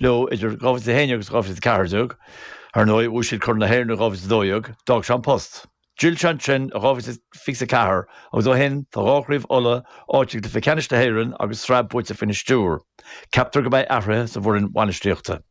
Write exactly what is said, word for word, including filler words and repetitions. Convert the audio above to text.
leo idir dhá mhíle a haon agus dhá mhíle a ceathair déag, ar ndóigh bhuaigh siad Corn na hÉireann dhá mhíle a dó dhéag, d'fhág sé an post. D'fhill sé ansin i dhá mhíle fiche a ceathair agus ó shin tá dhá chraobh Uladh, áit i gcluiche ceannais na hÉireann agus sraith buaite faoina stiúir. Ceaptar go mbeidh athruithe sa bhfoireann bhainistíochta.